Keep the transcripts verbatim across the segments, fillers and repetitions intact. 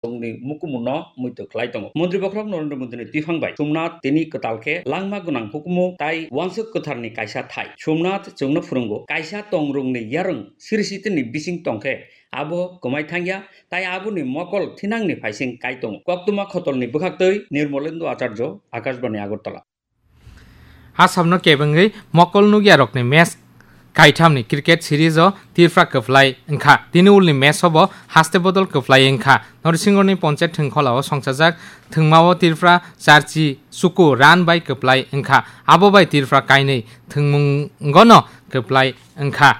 tongni mukumu no muitu khlai tongo. Montri bokhorok Narendra Modi ni twiphang bai Somnath tini kwtal khe langma gwnang hukumu tai wansuk kwthar ni kaisa thai. Somnath chwngno phwrwngo, kaisa tongrung ni yarwng siri siti ni bising tong khe abo kwmai thangya, tai aboni mokol thinang ni phaising kai tongo. Koktwma khotol ni bwkhaktwi Nirmolendu Acharjo, Akashbani Agartala. Assamno kebengwi mokol nukyarokni match kaithamni cricket series-o Tripura kwplai wngkha. Tini ulni match-o bo haste bodol kwplai wngkha. Norsingorni Ponchayat Thwngkholao songchajak thwngmao Tripura charchi chuku run bai kwplai wngkha. Abo bai Tripura kainwi thwngmungono kwplai wngkha.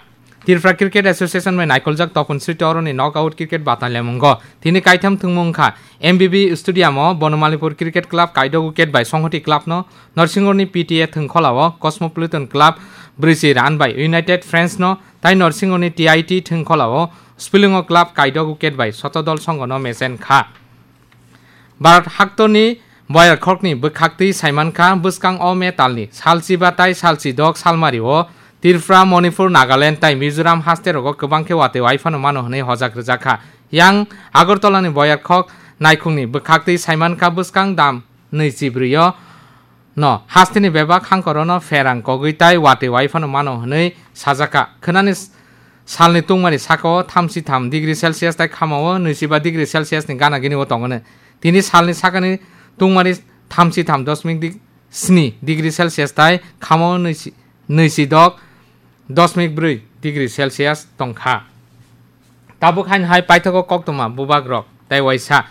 Tripura Cricket Association bai naikoljak Topon Sriti oroni knockout cricket batalyamungo. Tini kaitham thwngmung wngkha M B B Stadium-o Bonomalipur Cricket Club kaidok wicket bai Songhoti Club-no, Norsingorni P T A Thwngkholao Cosmopolitan Club brwichi run bai United Friends-no, tai Norsingorni T I T Thwngkholao Spilungo Club kaidok wicket bai Sotodol Songhono mechen kha. Bharat haktorni boyarkhokni bwkhaktwi saimankha bwskang o metalni salchiba tai salchidok salmario Tripura, Manipur, Nagaland tai Mizoram hasterogo kwbang khe watwi waiphano mano hwnwi hojak rwjakha. Yang Agartalani boyarkhok naikhungni bwkhaktwi saimankha bwskang dam nwichibrwio no hasteni bebak hangkorono pherang kogwi tai watwi waiphano mano hwnwi sajaka. Khwnani s-, salni tungmani sakao thamchi tham degree Celsius tai khamao nwichiba degree Celsius ni gana gini o tongoni. Tini salni sakani tungmani thamchi tham dosmik dig-, sni degree Celsius tai khamao nwichi-, nwichidok dosmik brwi degree Celsius tongkha. Tabuk haino hai paithago koktwma bubagrok tai waisa.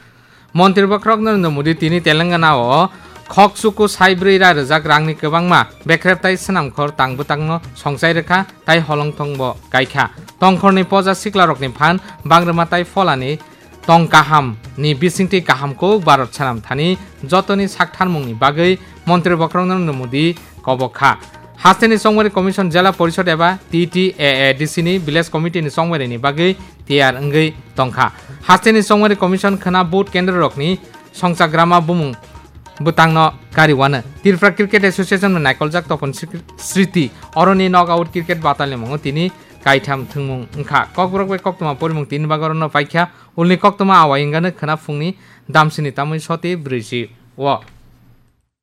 Montri bokhorok Narendra Modi tini Telangana-o khok chuku sai brwi ra rwjak rangni kwbangma bekrep tai swnamkhor tang bwtangno songchai rwkha tai holongthongbo kaikha. Tongkhorni poja siklarokni phan bangrwma tai pholani tong kaham ni bisingtwi kaham kuk Bharat sanam thani jotoni saktharmung ni bagwi Montri bokhorok Narendra Modi kobok kha. Hasteni Chongmari Commission Jela Porishod eba T T A A D C ni Village Committee ni chongmari ni bagwi tiyar wngwi tongkha. Hasteni Chongmari Commission khwna vote kendro rokni songchagrama bumung bwtangno kariwano. Tripura Cricket Association no naikoljak Topon Sri-, Sriti oroni knockout cricket batalni mungo tini kaitham thwngmung wngkha. Kokborok bai koktwma porimung tini bagorono paikha. Ulni koktwma awai wngano khwna phungni damsini tamwi soti brwichi o.